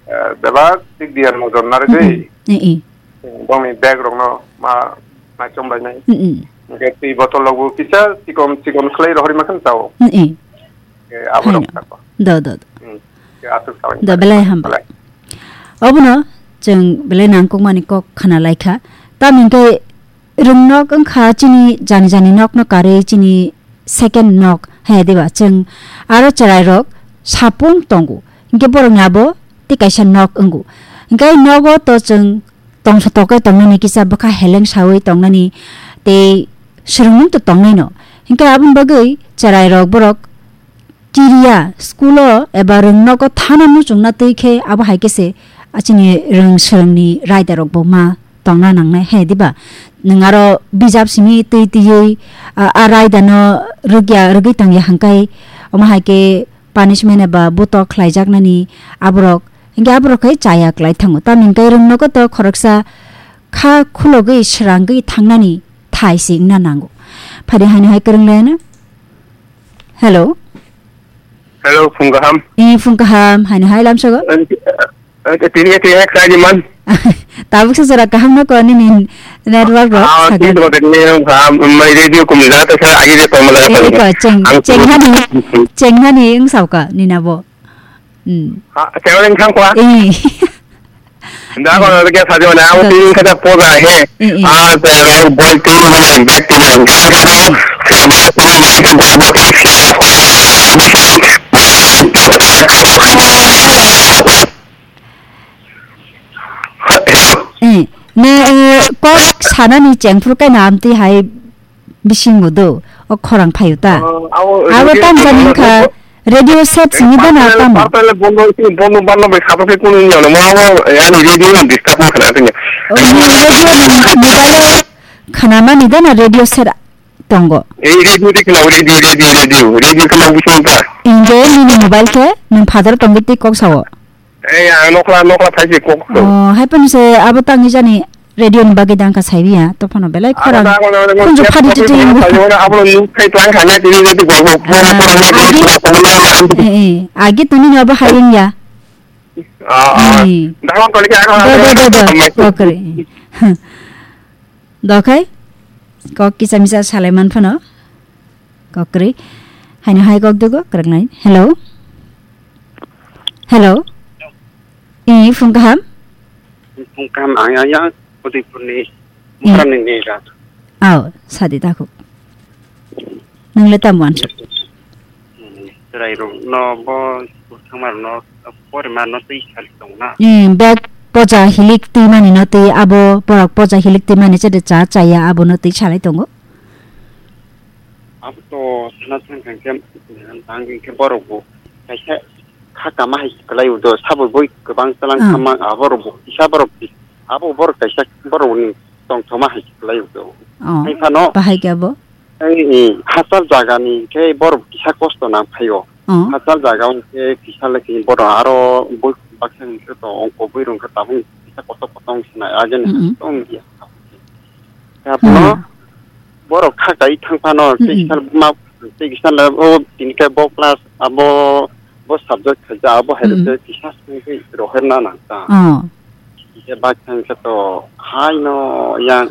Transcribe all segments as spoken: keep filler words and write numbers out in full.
eh, bebak tik diyan mojon narigwi. Mm-mm. Eh, eh. Bongni bag rokno ma, ma chom bai nai. Mm-mm. Hingke twi botol rokbo kisa chikon, chikon khlai rohorima khan chao. Mm-mm. Eh, abo rok Haino. Thangkho. Do, do, do. Hmm. Ke aswk sawi Do, mani. Belai hambai. Belai. Obono chwng belai nangkukmani kok khna laikha. Tamni hwnkhe rwngnok wngkha chini jani jani nokno karwi chini second nok hai diba chwng aro chwrairok sapung tongo. Hwnkhe borokni abo tei kaisa nok wngo. Hwnkhe nogo to chwng tongsa tokhe tongnani kisa bwkha heleng sawi tongnani tei swrwngmung to tongnaino. Hwnkhe aboni bagwi chwrairok borok kiriya school-o eba rwngnogo thana muchungna twi khe abo hai khe se, a, chini rwng swrwngni raidarokbo ma tongna nangnai, he diba? Nwng aro bijap simi twi twiwi, a, a raidano rwgya, rwgwi tongya hwnkhe omo hai khe punishment eba buto khlaijaknani aborok, hwnkhe aborok khe chaya klai thango. Tamni hwnkhe rwngnogo to khoroksa kha khulogwi srangwi thangnani thai se wngna nango. Phadi haino hai kwrwng laiano. Hello. Hello, phung kaham. Ee, phung kaham. Haino hai lamsogo. Eh, eh, tini, tini, eh, khlai di man. Tabuk sa jora kaham no ko nini network rok Ah, sagan. Tini to tini kaham, mai radio kum da ta sa agi de pamala. Ee, ko cheng, Ang cheng hani, cheng hani wng sao ka nina bo. Hmm. Ha, cheng hani thang kwa. Ee. Da ko na ke sa de na, ang tin ka ta po ga he. Eh, eh. Ah, ta ra bol tin na, bag tin na. Eh, ne, eh, kok sanani chengphuru kaina amtwi hai bisingo do, o khorang phaio ta. Oh, abo Abo radio tamjani station wngkha, radio set sini dana parpele, tamo. Parpele bondo, bondo barno bai khapra khe kunu wngya no, mo abo, eh, ani radio no disturb ma khna tini. O, radio mobile o khnamani dana radio set tongo. Eh, radio de khna, radio, radio, radio, radio khna bising ta. Inge nini mobile khe nwng father tongwi twi kok sao. Eh, ang nokla, nokla phaisi kok to. Oh, hai phano se abo tangwi jani radio ni bagwi dang kha saibi ya, to phano belai khorang. Abo da, abo da, abo da, Khunju abo phadi da, twi twi abo wngkha. Da, abo da, nuk thai tlang kha na, tini jadi gol, gol, gol, Ah, gol, gol, agi, gol, gol, gol, gol, eh, eh, agi tuni no abo hai wngya. Ah, ah. Eh. Da, abo da, abo da, Do, do, do, do. Abo da. Kokre. Dokhai, kok kisa misa salai man phano. Kokri. Haino hai kok dugo, kwrwknai. Hello? Hello? Ee, phung kaham? Phung kaham, ang yang, yang, Udaipurni, Hmm. Mukarani ni rat. Aw, sadi dakhuk. Nwngle tamo answer? Hmm, chwrairokno bo school thangmarokno porima no twi sal tongna. Hmm, bag poja hilik twi mani no twi abo borok poja hilik twi mani chede cha chaya abo no twi salai tongo. Abo to sana thang thang khe, tang khe borok bo kaisa kha kama hai kwlai do, sabo boi kwbang tlang Ah. Kama abo rok bo kisa borok abo borok kaisa borok ni tongthoma hai kwlai do. Oh, Hai phano bahai khe abo? Ei, ei, hachal jaga ni khe borok kisa kosto nang phaio. Oh. Hachal jaga hwn khe kisa le khe borok aro boi baksa hwn khe to ongko boi rong khe tabuk kisa kotor kotor wng sinai ageni Mm-mm. Tong dia. Khe abono Ah. Borok kha kai thang phano Mm-mm. Tei kisa ma tei kisa le o tini khe bo class abo bo subject khaija abo hai Mm-mm. Khe kisa sung khe rohorna nang ta. Oh. Khe bak thang khe to hai no yang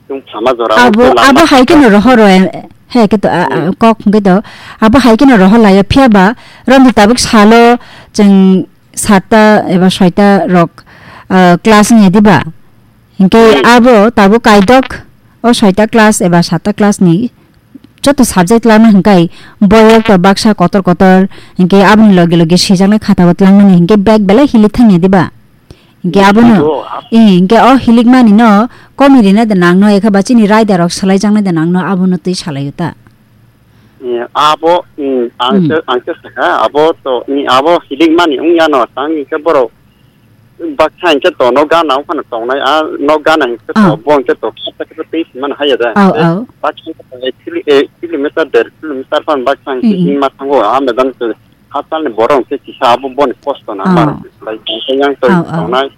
Tung sama jora Abo, abo hai khe no rohor rw, he khe to, a, a, Hmm. Kok hwnkhe to, abo hai khe no rohor lai o, phiya ba romdi tabuk salo chwng satta eba soita rok, ah, class wngya diba? Hinkhe Hmm. Abo tabuk kaidok o soita class eba satta class ni joto subject lana hwnkhe boyok to baksa kotor kotor, hinkhe aboni loge loge swijaknai khata bo twlangmani hinkhe bag belai hilik thangya diba? Hinkhe abono, Naisago, a- eh, hinkhe o hilikmani no komi rina de nangno, ekha ba chini raida rok salai jaknai de nangno, abono twi salai o ta. Eh, abo, mm, ang Hmm. se, ang se sakha, abo to, mm, abo hilikmani wngya no, tang hinkhe borok baksa hinkhe to no gana wngphano tongnai, a no gana hinkhe to Ah. Bo hinkhe to khata khe twi simano haiya da. Au, Tei au. Baksa hinkhe to ek kilo-, ek kilometer, der kilometer phano baksa hinkhe Hmm, hmm. Himma thango, a medan se Hachal ni borok hwnkhe kisa abo boni kosto na Ah. Mar lai tong yang toi Ah, ah. Tongnai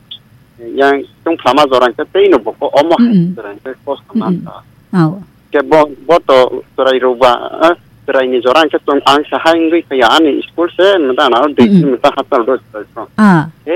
yang tong phlama jora hwnkhe tei no boko omo hai Mm-mm. Jora hwnkhe kosto Mm-mm. Manta. Oh. Ke bo, bo to chwrai rok ba, eh, chwrai ni jora hwnkhe tong ang sa hai wngwi kaya ani school se mata na dui Mm-mm. Kilometer hachal do chwrai rok. Ah. He